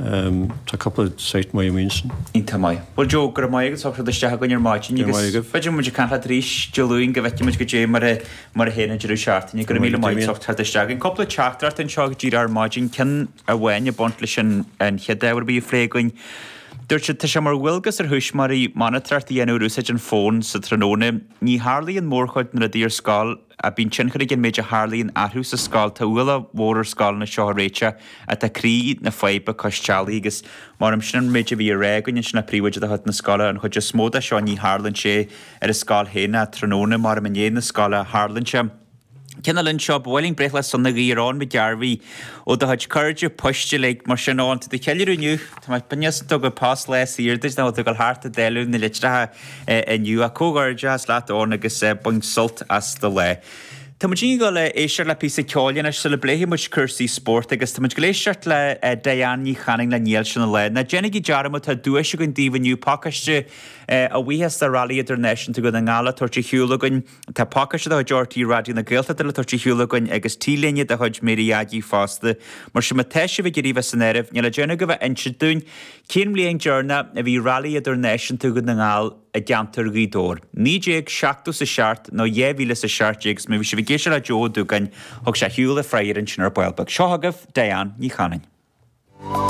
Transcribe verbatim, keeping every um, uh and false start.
Tá cúpla site maith amuigh ansin. Iontach maith. Bhuel Joe, go raibh maith agat as ucht teacht isteach againn ar maidin Go raibh agus maith agaibh. b'fhéidir muid ag caint leat arís Dé Luain go bhfeicfidh muid goidé mar a mar a théann an deireadh seachtaine. Go raibh míle maith as ucht teacht isteach againn. Cúpla teachtaireacht anseo go díreach ar maidin, ceann amháin ag baint leis an an chéad ábhar a bhí á phlé againn. Dúirt siad, tá sé mar dhualgas ar thuismitheoirí monatóireacht a dhéanamh ar úsáid an fóin sa tráthnóna. Ní tharlaíonn mórchuid na rudaí ar scoil ach bíonn tionchar ag an méid a tharlaíonn orthu sa scoil. Tá ualach mhór ar scoileanna seo a réiteach ach tá croí na faidhbe cois teallaigh agus mar sin an méid a bhí á rá againn ansin le príomhoide de chuid na scoile, an chuid is mó de seo ní tharlaíonn sé ar an scoil féin ach tráthnóna mar i ndiaidh na scoile a tharlaíonn sé. Ceann eile anseo, ba mhaith linn breithlá sona a guí ar Eoin Mac Gairbhí ó do chuid cairde poist uilig, mar sin Eoin, tá tú ag ceiliúradh inniu, tá mé beagnach ag tógáil post lá saor duit nach bhfuil tú ag dul thart ag dáileadh na litreacha inniu ach comhghairdeachas leat Eoin agus bain sult as do lá. Tá muid ag dul a éisteacht le píosa ceoil anois sula bpléifidh muid cúrsaí spóirt agus tá muid ag dul éisteacht le Diane Ní Chanainn le Níl Sin an Lá. Ná déanaigí dearmad tá duais againn daoibh inniu, pacáiste a bhuíochas do Rally Idirnáisiúnta Dhún na nGall le tabhairt ar shiúl againn. Tá pacáiste de chuid RTÉ Raidió na Gaeltachta le tabhairt ar shiúl againn agus T-léine de chuid Mary Aggie fosta. Mar sin má tá sibh ag iarraidh bheith san áireamh, níl le déanamh ach a bheith ag insint dúinn cén bhliain deireanach a bhí Rally Idirnáisiúnta Dhún na nGall i gceantar Ghaoth Dobhair. Naoi déag seachtó is a seacht nó dhá mhíle is a seacht déag agus má bhí sibh ag éisteacht le Joe Ó Dúgáin, thug sé ar shiúl a freagra ansin ar ball beag. Seo chugaibh Diane Ní Chanainn.